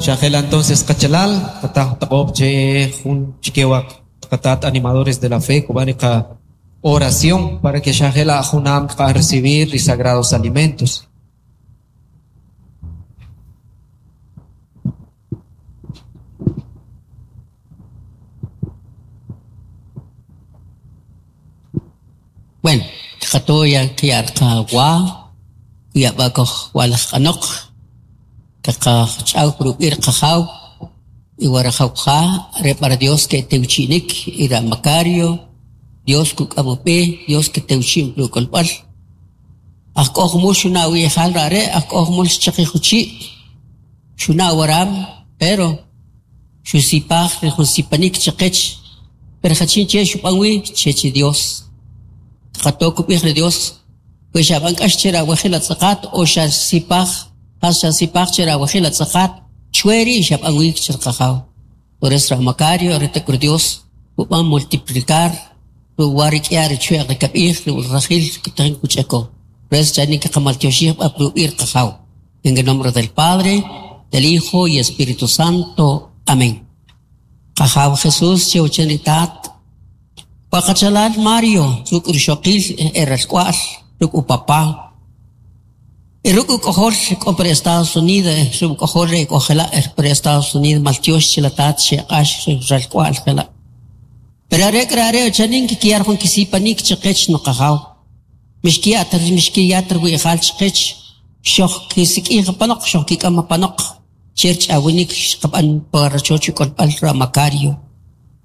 Xajela entonces qachalal, qataq taq'ob' che jun chike wa qatat animadores de la fe kub'an ri qa oración para que xajela junam kqa'an recibir ri sagrados alimentos. Bueno, kqato ya qya' qawa, kuya' b'a' kojwa'laj q'anoq, kaqach'aw ruk' ri qajaw y wa rajaw ja re b'a Dios ke'tewchi'nik y ra Macario, Dios kuk'am ub'e, Dios ketewchi'n pi uk'olb'al. Aj k'o jumul xuna' wi'jal ra're' aj k'o jumul xchaqij uchii' xuna' waram pero xusipaj ri jun sipanik chaqech pero jachin che xub'an wi chech ri Dios qato kub'ij ri Dios we xab'an k'ax che rawajil atz'aqat o xasipaj jas xasipaj che rawajil atz'aqat chwe ri' xab'an wi che ri qajaw por eso ra Macario are ta k'u ri Dios kub'an multiplicar wa rik'ya ri chwe'q ri kab'ij ri rajil tajin kuch'ako por eso chanin kaqamaltyoxij b'a pi ub'i' ri qajaw en el nombre del Padre del Hijo y Espíritu Santo amén Qajaw Jesús che uchen ri Tat wa qachalal Mario ruk' rixoqil e ralk'wa'l ruk' upapá y ruk' uk'ojol k'o pa ri Estados Unidos ruk' uk'ojol re k'o jela' pa ri Estados Unidos maltyox che la Tat xeq'ax ri ralk'wa'l jela' pero are k'u are' chanin kikiyar jun kisipanik chaqech nuqajaw mixkiya' ta mixkiya' ta riwi'jal chaqech xoj kisik'ij apanoq xoj kik'am apanoq che rich'awinik xqab'an pa rachoch uk'olb'al ra Macario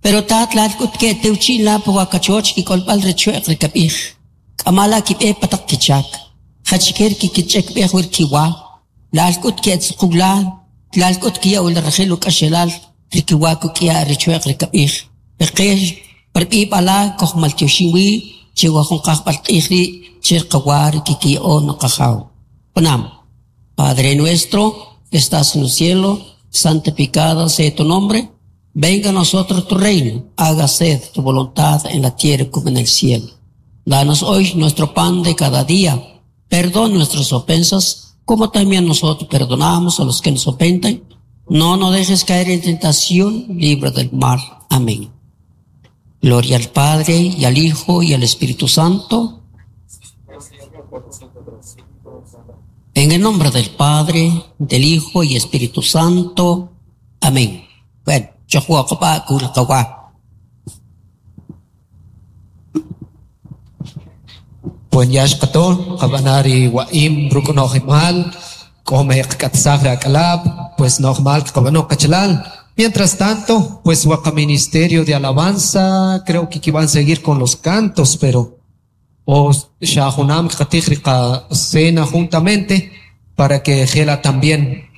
pero tat lal k'ut ke'tewchi'n la pa wa kachoch kik'olb'al ri chwe'q ri kab'ij k'ama la kib'e pa taq kichak jachike ri kikich'ekb'ej wi ri kiwa lal k'ut ke'tzuquw la lal k'ut kiya' wi rajil uk'axelal ri kiwa kuk'ya' ri chwe'q ri kab'ij ri qe par b'ib'al la kojmaltyoxin wi che wa jun qajb'al q'ij rii' che qawa ri kikiya'o nuqajaw junam Padre nuestro que estás en el cielo, santificado sea tu nombre, venga a nosotros tu reino, hágase tu voluntad en la tierra como en el cielo. Danos hoy nuestro pan de cada día, perdona nuestras ofensas, como también nosotros perdonamos a los que nos ofenden. No nos dejes caer en tentación, libra del mal. Amén. Gloria al Padre, y al Hijo, y al Espíritu Santo. En el nombre del Padre, del Hijo y Espíritu Santo. Amén. Bueno, chojwa kul qawa. Buen yax qato, qabanari wa'im ruk' nojimal, k'ome qk'atsaj ri ak'alab', pues nojmal qab'ano qachalal. Mientras tanto, pues waqa Ministerio de Alabanza, creo que van a seguir con los cantos, pero o xa junam qatij ri cena juntamente para que jela también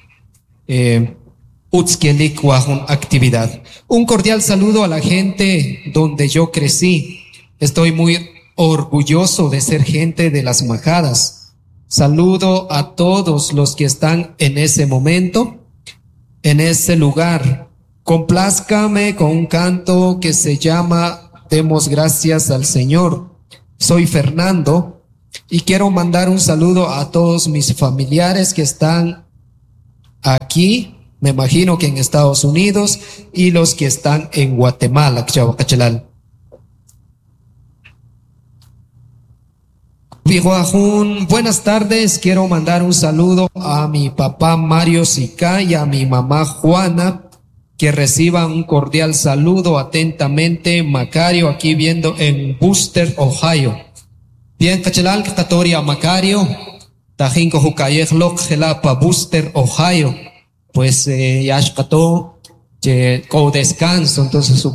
utz kelik wa jun actividad. Un cordial saludo a la gente donde yo crecí. Estoy muy orgulloso de ser gente de las majadas. Saludo a todos los que están en ese momento, en ese lugar. Complázcame con un canto que se llama Demos gracias al Señor. Soy Fernando y quiero mandar un saludo a todos mis familiares que están aquí, me imagino que en Estados Unidos, y los que están en Guatemala. Chalal. Buenas tardes, quiero mandar un saludo a mi papá Mario Sica y a mi mamá Juana, que reciban un cordial saludo atentamente, Macario, aquí viendo en Wooster, Ohio. Bien, qachalal, Katoria Macario, Tajinko Jukayej Lok, Gelapa, Wooster, Ohio. Pues ya xqato, che ko descanso, entonces su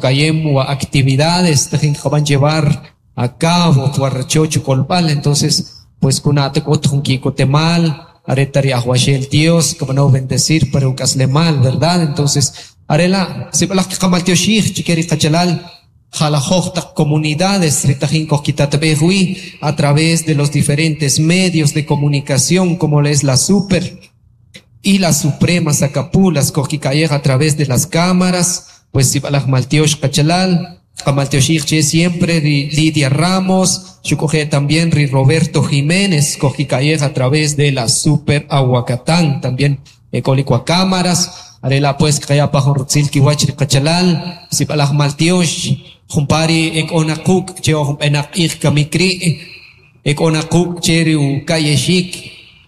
actividades, tajin van llevar a cabo, chocho kolpal, entonces, pues kunate kot temal, aretari ahuashel Dios, como no bendecir, pero mal, ¿verdad? Entonces, arela, si balaj kamaltioshij, chikeri qachalal, jalajoj comunidades, ritajin kokitatbehui, a través de los diferentes medios de comunicación, como es la Super y la Suprema Sacapulas, Kojikayeja a través de las cámaras, pues si balaj maltiosh qachalal, Kamaltioshij che siempre Lidia Ramos, Chucoje también ri Roberto Jiménez, Kojikayeja a través de la Super Aguacatán, también Ecolicua Cámaras. Are la' pues kqaya pa jun rutzil kiwach ri qachalal, sib'alaj maltyox jumpa ri e k'o na quk' che oj jun b'enaq q'ij kamik ri', e k'o na quk' che ri uka'yexik,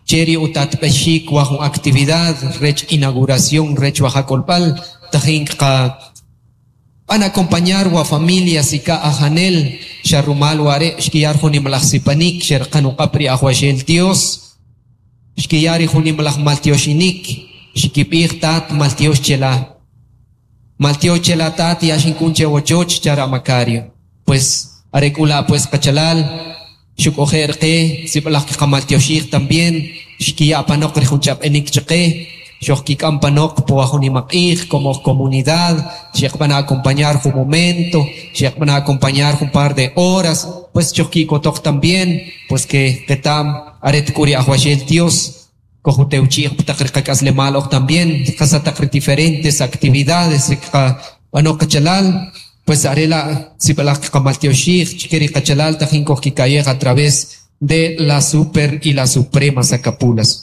che ri utatb'exik wa jun actividad rech inauguración rech wa ja k'olb'al tajin kqab'an acompañar wa familia Sika Ajanel xa rumal ware' xkiyar jun nimalaj sipanik xeraqan uq'ab' ri Ajwaxel Dios, xkiyar ri jun nimalaj maltyoxinik, xkib'ij tat maltyox chela, maltyox chela tat ya xinkun che wachoch chara Macario. Pues are k'u la' pues qachalal xuk'oje' qe sib'alaj kqamaltyoxij también xkiya' panoq ri jun ch'ab'enik chaqe xojkik'am panoq po wa jun nimaq'ij como comunidad xeqb'an acompañar jun momento, xeqb'an acompañar jun par de horas, pues xojki'kotoq también pues que qetam are tk'u ri Ajwaxel Dios kojutewchi'j taq ri qak'aslemal oj también qasataq ri diferentes actividades ri qab'ano qachalal pues are la' sib'alaj kqamaltyoxij chike ri qachalal tajin kojkika'yej a través de la Super y la Suprema Sacapulas.